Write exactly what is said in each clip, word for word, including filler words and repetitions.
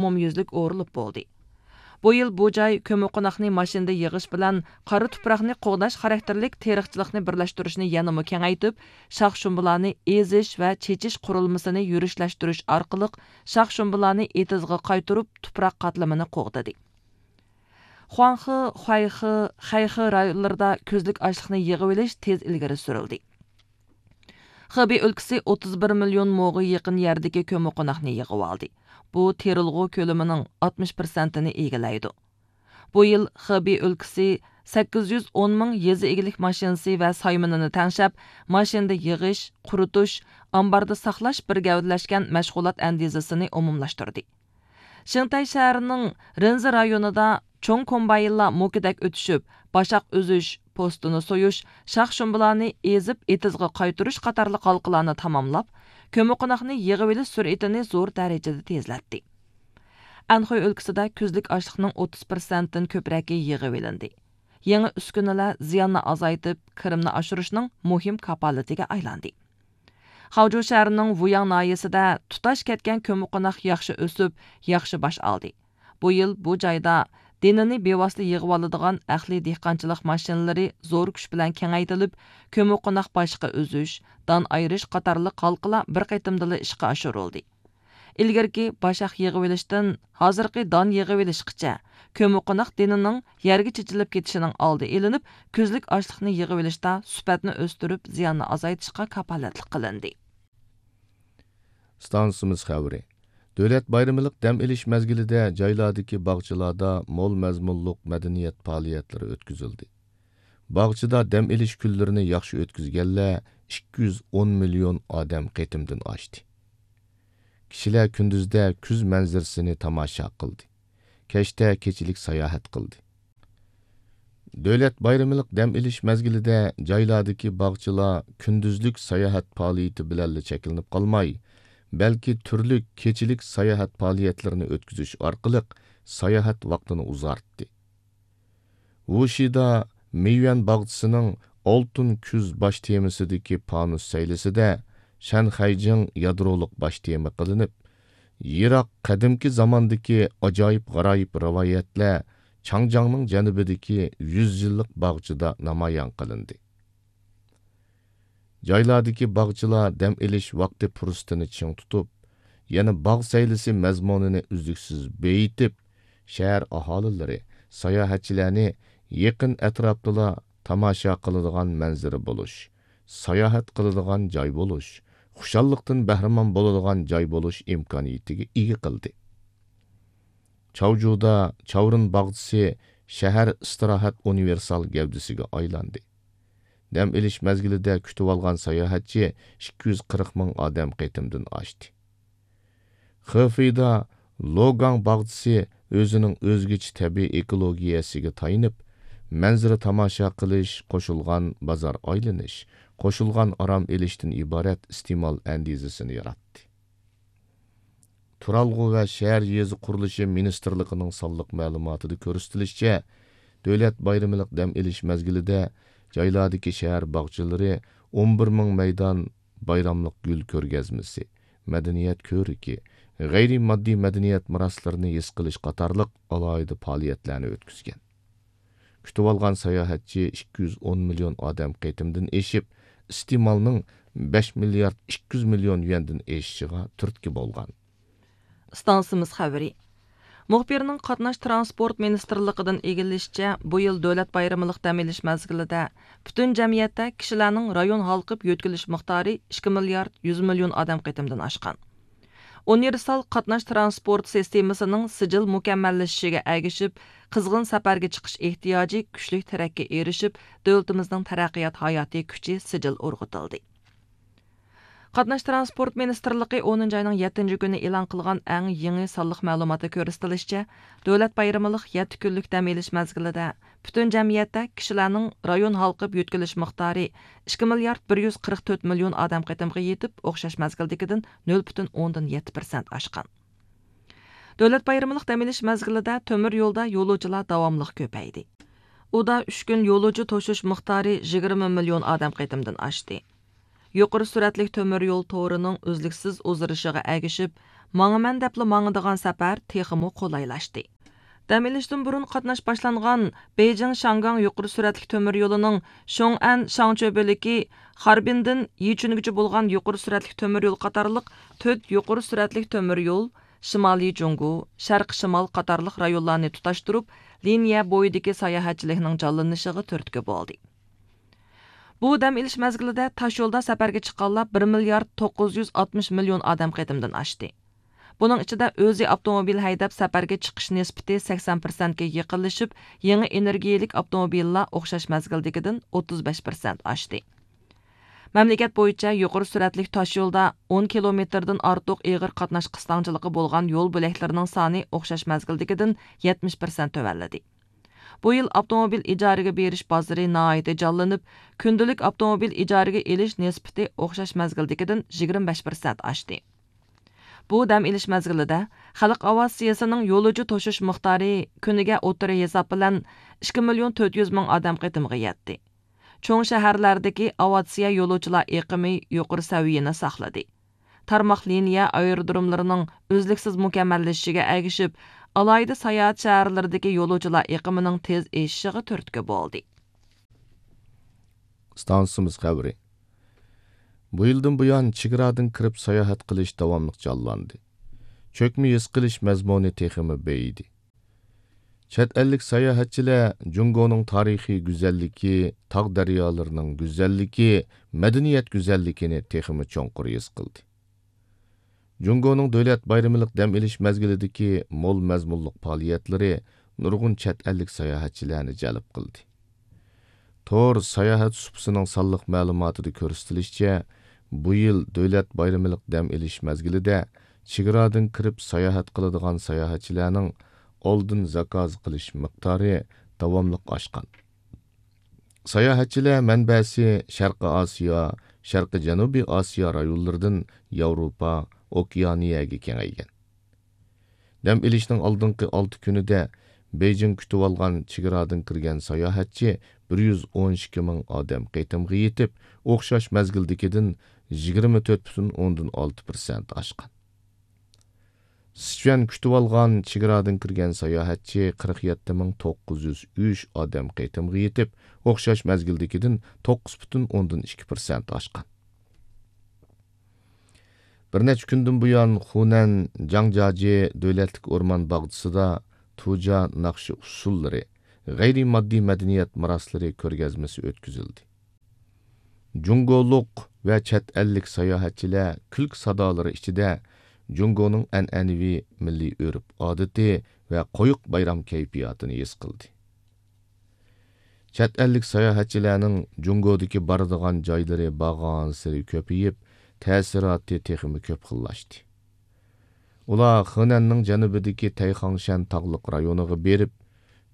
ئومۇميۈزلۈك ئورۇلۇپ بولدى. بۇ يىل بۇ جاي كۆممىقوناقنى ماشىنىدا يىغىش بىلەن قارا تۇپراقنى قوغداش خاراكتېرلىك تېرىقچىلىقنى بىرلەشتۈرۈشنى يەنىمۇ كېڭەيتىپ، شاخ شۇمبىلارنى ئېزىش ۋە چېچىش قۇرۇلمىسىنى يۈرۈشلەشتۈرۈش ئارقىلىق شاخ شۇمبىلارنى ئېتىزغا قايتۇرۇپ، تۇپراق قاتلىمىنى قوغدىدى. خۇاڭخې، خۇەيخې، خەيخې رايونلىرىدا كۈزلۈك ئاشلىقنى يىغىۋېلىش تېز ئىلگىرى سۈرۈلدى. خېبېي ئۆلكىسى ئوتتۇز بىر مىليون موغا يېقىن يەردىكى كۆممىقوناقنى يىغىۋالدى. بۇ تېرىلغۇ كۆلىمىنىڭ ئاتمىش پىرسەنتىنى ئىگىلەيدۇ. بۇ يىل خېبېي ئۆلكىسى سەككىز يۈز ئون مىڭ يېزا ئىگىلىك ماشىنىسى ۋە سايمىنىنى تەڭشەپ، ماشىنىدا يىغىش، قۇرۇتۇش، ئامباردا ساقلاش بىر گەۋدىلەشكەن مەشغۇلات ئەندىزىسىنى ئومۇملاشتۇردى. شىنتەي شەھىرىنىڭ رېنزى رايونىدا چوڭ كومباينلار موكىدەك ئۆتۈشۈپ، باشاق ئۈزۈش، پوستىنى سويۇش، شاخ شۇمبىلارنى ئېزىپ ئېتىزغا قايتۇرۇش قاتارلىق ھالقىلارنى تاماملاپ، كۆممىقوناقنى يىغىۋېلىش سۈرئىتىنى زور دەرىجىدە تېزلەتتى. ئەنخۇي ئۆلكىسىدە كۈزلۈك ئاشلىقنىڭ ئوتتۇز پىرسەنتتىن كۆپرەكى يىغىۋېلىندى. يېڭى ئۈسكۈنىلەر زىياننى ئازايتىپ، كىرىمنى ئاشۇرۇشنىڭ مۇھىم كاپالىتىگە ئايلاندى. خاۋجۇ شەھىرىنىڭ ۋۇياڭ ناھىيەسىدە تۇتاش كەتكەن كۆممىقوناق ياخشى ئۆسۈپ، ياخشى باش ئالدى. بۇ يىل بۇ جايدا دېنىنى بىۋاسىتە يىغىۋالىدىغان ئەقلىي دېھقانچىلىق ماشىنىلىرى زور كۈچ بىلەن كېڭەيتىلىپ، كۆممىقوناق باشقا ئۈزۈش، دان ئايرىش قاتارلىق ھالقىلار بىر قېتىمدىلا ئىشقا ئاشۇرۇلدى. ئىلگىرىكى باشاق يىغىۋېلىشتىن ھازىرقى دان يىغىۋېلىشقىچە، كۆممىقوناق دېنىنىڭ يەرگە چېچىلىپ كېتىشىنىڭ ئالدى ئېلىنىپ، كۈزلۈك ئاشلىقنى يىغىۋېلىشتا سۈپەتنى ئۆستۈرۈپ، زىياننى ئازايتىشقا كاپالەتلىك قىلىندى. ئىستانسىمىز خەۋىرى. دۆلەت بايرىمىلىق دەم ئېلىش مەزگىلىدە جايلاردىكى باغچىلاردا مول مەزمۇنلۇق مەدەنىيەت پائالىيەتلىرى ئۆتكۈزۈلدى. باغچىدا دەم ئېلىش كۈنلىرىنى ياخشى ئۆتكۈزگەنلەر ئىككى يۈز ئون مىليون ئادەم قېتىمدىن ئاشتى. كىشىلەر كۈندۈزدە كۈز مەنزىرىسىنى تاماشا قىلدى. كەچتە كېچىلىك ساياھەت قىلدى. دۆلەت بايرىمىلىق دەم ئېلىش مەزگىلىدە جايلاردىكى باغچىلار كۈندۈزلۈك ساياھەت پائالىيىتى بىلەنلا چەكلىنىپ قالماي، بەلكى تۈرلۈك كېچىلىك ساياھەت پائالىيەتلىرىنى ئۆتكۈزۈش ئارقىلىق ساياھەت ۋاقتىنى ئۇزارتتى. ۋۇشىدا مېيۈەن باغچىسىنىڭ ئالتۇن كۈز باش تېمىسىدىكى پانۇس سەيلىسىدە شەنخەيجىڭ يادرولۇق باش تېما قىلىنىپ، يىراق قەدىمكى زاماندىكى ئاجايىپ-غارايىپ رىۋايەتلەر چاڭجياڭنىڭ جەنۇبىدىكى يۈز يىللىق باغچىدا نامايان قىلىندى. جايلاردىكى باغچىلار دەم ئېلىش ۋاقتى پۇرسىتىنى چىڭ تۇتۇپ، يەنە باغ سەيلىسى مەزمۇنىنى ئۈزلۈكسىز بېيىتىپ، شەھەر ئاھالىلىرى، ساياھەتچىلەرنى يېقىن ئەتراپتىلا تاماشا قىلىدىغان مەنزىرە بولۇش، ساياھەت قىلىدىغان جاي بولۇش، خۇشاللىقتىن بەھرىمەن بولىدىغان جاي بولۇش ئىمكانىيىتىگە ئىگە قىلدى. چاۋجۇدا چاۋرىن باغچىسى شەھەر ئىستىراھەت ئۇنىۋېرسال گەۋدىسىگە ئايلاندى. دەم ئېلىش مەزگىلىدە كۈتۈۋالغان ساياھەتچى ئىككى يۈز قىرىق مىڭ ئادەم قېتىمدىن ئاشتى. خېفېيدا لوگاڭ باغچىسى ئۆزىنىڭ ئۆزگىچە تەبىئىي ئېكولوگىيەسىگە تايىنىپ، مەنزىرە تاماشا قىلىش، قوشۇلغان بازار ئايلىنىش، قوشۇلغان ئارام ئېلىشتىن ئىبارەت ئىستېمال ئەندىزىسىنى ياراتتى. تۇرالغۇ ۋە شەھەر يېزا قۇرۇلۇشى مىنىستىرلىقىنىڭ سانلىق مەلۇماتىدا كۆرسىتىلىشىچە، دۆلەت بايرىمىلىق دەم ئېلىش مەزگىلىدە جايلاردىكى شەھەر باغچىلىرى ئون بىر مىڭ مەيدان بايراملىق گۈل كۆرگەزمىسى، مەدەنىيەت كۆرىكى، غەيرىي ماددىي مەدەنىيەت مىراسلىرىنى ھېس قىلىش قاتارلىق ئالاھىدە پائالىيەتلەرنى ئۆتكۈزگەن. كۈتۈۋالغان ساياھەتچى ئىككى يۈز ئون مىليون ئادەم قېتىمدىن ئېشىپ، ئىستېمالنىڭ بەش مىليارد ئىككى يۈز مىليون يۈەندىن ئېشىشىغا تۈرتكە بولغان. ئىستانسىمىز خەۋىرى. مۇخبىرنىڭ قاتناش تىرانسپورت مىنىستىرلىقىدىن ئىگىلىشىچە، بۇ يىل دۆلەت بايرىمىلىق دەم ئېلىش مەزگىلىدە پۈتۈن جەمئىيەتتە كىشىلەرنىڭ رايون ھالقىپ يۆتكىلىش مىقدارى ئىككى مىليارد يۈز مىليون ئادەم قېتىمدىن ئاشقان. ئۇنىۋېرسال قاتناش تىرانسپورت سىستېمىسىنىڭ سىجىل مۇكەممەللىشىشىگە ئەگىشىپ، قىزغىن سەپەرگە چىقىش ئېھتىياجى كۈچلۈك تىرەككە ئېرىشىپ، دۆلىتىمىزنىڭ تەرەققىيات ھاياتىي كۈچى سىجىل ئۇرغۇتۇلدى. قاتناش تىرانسپورت مىنىستىرلىقى ئونىنچى ئاينىڭ يەتتىنچى كۈنى ئېلان قىلغان ئەڭ يېڭى سانلىق مەلۇماتتا كۆرسىتىلىشىچە، دۆلەت بايرىمىلىق يەتتە كۈنلۈك دەم ئېلىش مەزگىلىدە پۈتۈن جەمئىيەتتە كىشىلەرنىڭ رايون ھالقىپ يۆتكىلىش مىقدارى ئىككى مىليارد بىر يۈز قىرىق تۆت مىليون ئادەم قېتىمغا يېتىپ، ئوخشاش مەزگىلدىكىدىن نۆل پۈتۈن ئوندىن يەتتە پىرسەنت ئاشقان. دۆلەت بايرىمىلىق دەم ئېلىش مەزگىلىدە تۆمۈر يولدا يولۇچىلار داۋاملىق كۆپەيدى. ئۇدا ئۈچ كۈن يولۇچى توشۇش مىقدارى يىگىرمە مىليون ئادەم قېتىمدىن ئاشتى. يۇقىرى سۈرئەتلىك تۆمۈر يول تورىنىڭ ئۈزلۈكسىز ئۇزىرىشىغا ئەگىشىپ، ماڭىمەن دەپلا ماڭىدىغان سەپەر تېخىمۇ قولايلاشتى. دەم ئېلىشتىن بۇرۇن قاتناش باشلانغان بېيجىڭ شياڭگاڭ يۇقىرى سۈرئەتلىك تۆمۈر يولىنىڭ شوڭئەن شاڭچۆ بۆلىكى خاربىندىن يىچۈنگىچە بولغان يۇقىرى سۈرئەتلىك تۆمۈر يول قاتارلىق تۆت يۇقىرى سۈرئەتلىك تۆمۈر يول، شىمالىي جۇڭگو، شەرقىي شىمال قاتارلىق رايونلارنى تۇتاشتۇرۇپ، لىنىيە بويىدىكى ساياھەتچىلىكنىڭ جانلىنىشىغا تۈرتكە بولدى. بۇ دەم ئېلىش مەزگىلىدە تاشيولدا سەپەرگە چىققانلار بىر مىليارد توققۇز يۈز ئاتمىش مىليون ئادەم قېتىمدىن ئاشتى. بۇنىڭ ئىچىدە ئۆزى ئاپتوموبىل ھەيدەپ سەپەرگە چىقىش نىسبىتى سەكسەن پىرسەنتكە يېقىنلىشىپ، يېڭى ئېنېرگىيەلىك ئاپتوموبىللار ئوخشاش مەزگىلدىكىدىن ئوتتۇز بەش پىرسەنت ئاشتى. مەملىكەت بويىچە يۇقىرى سۈرئەتلىك تاشيولدا ئون كىلومېتىردىن ئارتۇق ئېغىر قاتناش قىستاڭچىلىقى بولغان يول بۆلەكلىرىنىڭ سانى ئوخشاش مەزگىلدىكىدىن يەتمىش پىرسەنت تۆۋەنلىدى. بۇ يىل ئاپتوموبىل ئىجارىگە بېرىش بازىرى ناھايىتى جانلىنىپ، كۈندىلىك ئاپتوموبىل ئىجارىگە ئېلىش نىسبىتى ئوخشاش مەزگىلدىكىدىن يىگىرمە بەش پىرسەنت ئاشتى. بۇ دەم ئېلىش مەزگىلىدە خەلق ئاۋىئاتسىيىسىنىڭ يولۇچى توشۇش مىقدارى كۈنىگە ئوتتۇرا ھېساب بىلەن ئىككى مىليون تۆت يۈز مىڭ ئادەم قېتىمىغا يەتتى. چوڭ شەھەرلەردىكى ئاۋىئاتسىيە يولۇچىلار ئېقىمى يۇقىرى سەۋىيەنى ساقلىدى. تارماق لىنىيە ئايرودروملىرىنىڭ ئۈزلۈكسىز مۇكەممەللىشىشىگە ئەگىشىپ، ئالاھىدە ساياھەت شەھەرلىرىدىكى يولۇچىلار ئېقىمىنىڭ تېز ئېشىشىغا تۈرتكە بولدى. ئىستانسىمىز خەۋىرى. بۇ يىلدىن بۇيان چېگرادىن كىرىپ ساياھەت قىلىش داۋاملىق جانلاندى. چۆكمە ھېس قىلىش مەزمۇنى تېخىمۇ بېيىدى. چەت ئەللىك ساياھەتچىلەر جۇڭگونىڭ تارىخىي گۈزەللىكى، تاغ دەريالىرىنىڭ گۈزەللىكى، مەدەنىيەت گۈزەللىكىنى تېخىمۇ چوڭقۇر ھېس قىلدى. جۇڭگونىڭ دۆلەت بايرىملىق دەم ئېلىش مەزگىلىدىكى مول مەزمۇنلۇق پائالىيەتلىرى نۇرغۇن چەت ئەللىك ساياھەتچىلەرنى جەلپ قىلدى. تور ساياھەت سۇپىسىنىڭ سانلىق مەلۇماتىدا كۆرسىتىلىشىچە، بۇ يىل دۆلەت بايرىملىق دەم ئېلىش مەزگىلىدە چېگرادىن كىرىپ ساياھەت قىلىدىغان ساياھەتچىلەرنىڭ ئالدىن زاكاز قىلىش مىقدارى داۋاملىق ئاشقان. ساياھەتچىلەر مەنبەسى شەرقىي ئاسىيا، شەرقىي جەنۇبىي ئاسىيا رايونلىرىدىن ياۋروپا، ئوكېئانىيەگە كېڭەيگەن. دەم ئېلىشنىڭ ئالدىنقى ئالتە كۈنىدە بېيجىڭ كۈتۈۋالغان چېگرادىن كىرگەن ساياھەتچى بىر يۈز ئون ئىككى مىڭ ئادەم قېتىمغا يېتىپ، ئوخشاش مەزگىلدىكىدىن يىگىرمە تۆت پۈتۈن ئوندىن ئالتە پىرسەنت ئاشقان. سىچۈەن كۈتۈۋالغان چېگرادىن كىرگەن ساياھەتچى قىرىق يەتتە مىڭ توققۇز يۈز ئۈچ ئادەم قېتىمغا يېتىپ، ئوخشاش مەزگىلدىكىدىن توققۇز پۈتۈن ئوندىن ئىككى پىرسەنت ئاشقان. بىر نەچچە كۈندىن بۇيان خۇنەن جاڭجياجى دۆلەتلىك ئورمان باغچىسىدا تۇجيا ناخشا ئۇسسۇللىرى، غەيرىي ماددىي مەدەنىيەت مىراسلىرى كۆرگەزمىسى ئۆتكۈزۈلدى. جۇڭگولۇق ۋە چەت ئەللىك ساياھەتچىلەر كۈلكە سادالىرى ئىچىدە جۇڭگونىڭ ئەنئەنىۋى مىللىي ئۆرپ-ئادىتى ۋە قويۇق بايرام كەيپىياتىنى ھېس قىلدى. چەت ئەللىك ساياھەتچىلەرنىڭ جۇڭگودىكى بارىدىغان جايلىرى بارغانسېرى كۆپىيىپ، تەسىراتى تېخىمۇ كۆپ خىللاشتى. ئۇلار خېنەننىڭ جەنۇبىدىكى تەيخاڭشەن تاغلىق رايونىغا بېرىپ،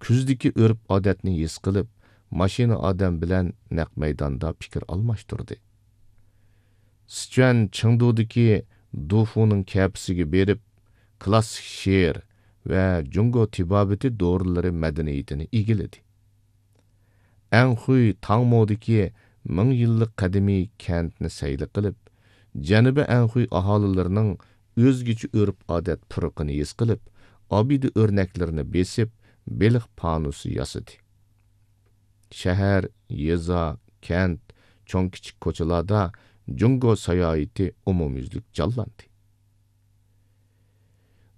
كۈزدىكى ئۆرپ-ئادەتنى ھېس قىلىپ، ماشىنا ئادەم بىلەن نەق مەيداندا پىكىر ئالماشتۇردى. سىچۈەن چېڭدۇدىكى دۇفۇنىڭ كەپىسىگە بېرىپ، كلاسسىك شېئىر ۋە جۇڭگو تېبابىتى دورىلىرى مەدەنىيىتىنى ئىگىلىدى. ئەنخۇي تاڭمودىكى مىڭ يىللىق قەدىمىي كەنتنى سەيلە قىلىپ، جەنۇبىي ئەنخۇي ئاھالىلىرىنىڭ ئۆزگىچە ئۆرپ-ئادەت پۇرىقىنى ھېس قىلىپ، ئابىدە ئۆرنەكلىرىنى بېسىپ، بېلىق پانۇسى ياسىدى. شەھەر، يېزا، كەنت، چوڭ-كىچىك كوچىلاردا جۇڭگو ساياھىتى ئومۇميۈزلۈك جانلاندى.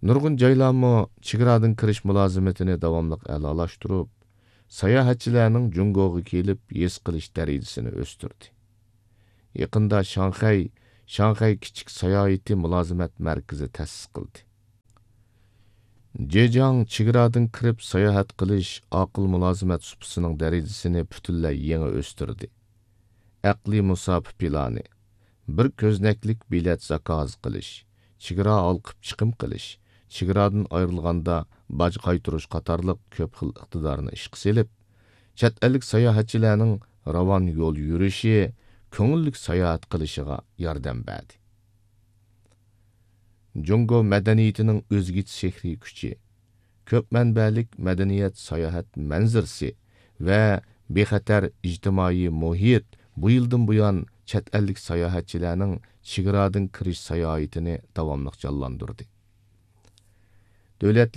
نۇرغۇن جايلارمۇ چېگرادىن كىرىش مۇلازىمىتىنى داۋاملىق ئەلالاشتۇرۇپ، ساياھەتچىلەرنىڭ جۇڭگوغا كېلىپ ھېس قىلىش دەرىجىسىنى ئۆستۈردى. يېقىندا شاڭخەي، شاڭخەي كىچىك ساياھىتى مۇلازىمەت مەركىزى تەسىس قىلدى. جېجياڭ چېگرادىن كىرىپ ساياھەت قىلىش ئاقىل مۇلازىمەت سۇپىسىنىڭ دەرىجىسىنى پۈتۈنلەي يېڭى ئۆستۈردى. ئەقلىي مۇساپە پىلانى، بىر كۆزنەكلىك بېلەت زاكاز قىلىش، چېگرا ھالقىپ چىقىم قىلىش، چېگرادىن ئايرىلغاندا باج قايتۇرۇش قاتارلىق كۆپ خىل ئىقتىدارنى ئىشقا سېلىپ، چەت ئەللىك ساياھەتچىلەرنىڭ راۋان يول يۈرۈشى، كۆڭۈللۈك ساياھەت قىلىشىغا ياردەم بەردى. جۇڭگو مەدەنىيىتىنىڭ ئۆزگىچە سېھرىي كۈچى، كۆپ مەنبەلىك مەدەنىيەت ساياھەت مەنزىرىسى ۋە بىخەتەر ئىجتىمائىي مۇھىت بۇ يىلدىن بۇيان چەت ئەللىك ساياھەتچىلەرنىڭ چېگرادىن كىرىش ساياھىتىنى داۋاملىق جانلاندۇردى. دۆلەتلىك